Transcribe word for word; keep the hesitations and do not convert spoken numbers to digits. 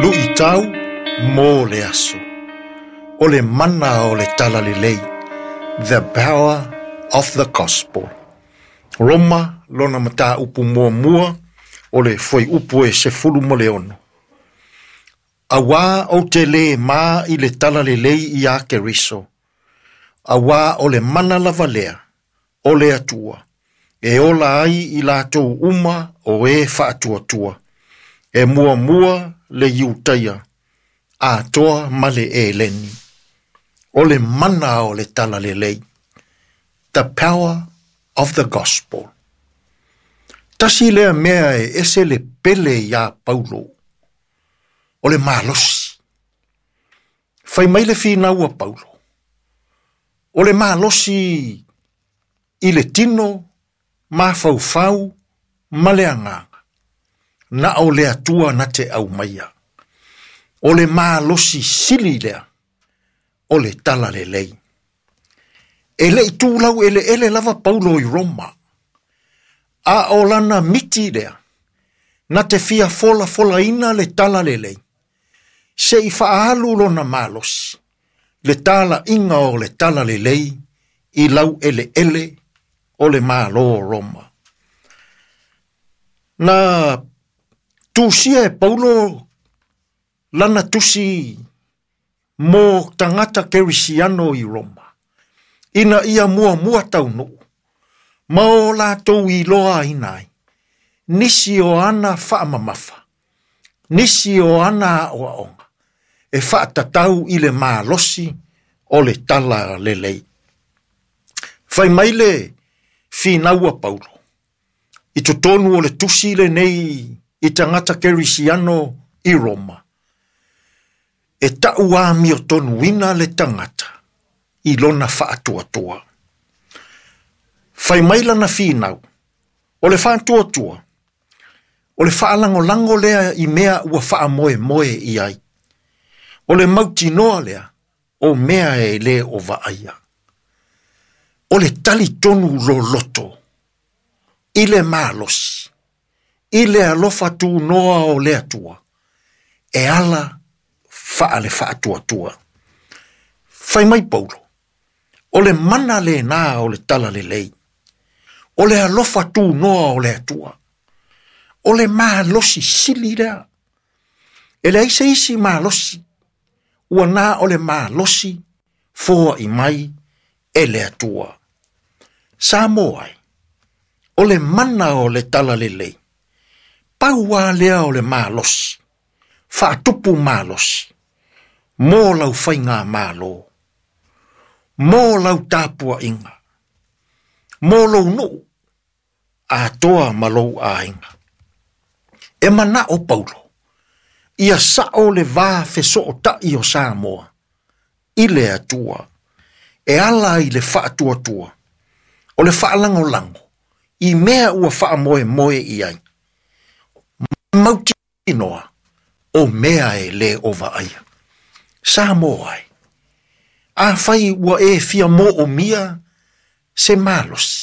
Luʻitau mo le aso. O le mana o le talalelei. The power of the gospel. Roma lona mataupu muamua o le fuaiupu e sefulu ma le ono. Auā ou te lē ma i le talalelei iā Keriso. Auā o le mana lava lea o le Atua. E ola ai i latou uma o e faatuatua. E muamua le Iutaia, atoa ma le Eleni. O le mana o le talalelei. The power of the gospel. Tasi lea mea e ese le pele iā Paulo. O le malosi. Fai mai le finau a Paulo. O le malosi i le tino, mafaufau, ma le agaga. Na o le Atua na te aumaia. O le malosi sili lea, o le talalelei. E le i tulau eleele lava Paulo i Roma. A o lana miti lea, na te fia folafolaina le talalelei. Se i faaalu lona malosi, le talaiga o le talalelei i laueleele o le Malo o Roma. Na tusia e Paulo lana tusi mo tagata kerisiano i Roma. Ina ia muamua taunuu, ma o latou iloaina ai, nisi o ana faamamafa, nisi o ana aoaoga, e faatatau i le malosi o le talalelei. Fai mai le finau a Paulo, i totonu o le tusi lenei i tagata kerisiano i Roma, e tau amiotonuina le tagata i lona faatuatua. Fai mai lana finau, o le faatuatua, o le faalagolago lea i mea ua faamoemoe i ai. O le mautinoa lea, o mea e le o vaaia. O le talitonu loloto, i le malosi, i le alofa tunoa o le Atua, e ala faale faatuatua. Fai mai Paulo, o le mana lena o le talalelei, o le alofa tunoa o le Atua, o le malosi sili lea. E leai se isi malosi, ua na o le malosi foai mai e le Atua. Samoa ai, o le mana o le talalelei, pau lava lea o le malosi, faatupu malosi, mo lau faigamalo, mo lau tapuaiga, mo lou nuu, atoa ma lou aiga. E manao Paulo, ia sao le va fesootai o Samoa, i le Atua, e ala i le faatuatua, o le faalagolago, i mea ua faamoemoe i ai. Mautinoa, o mea e le o vaaia. Samoa ai, afai ua e fia moomia se malosi,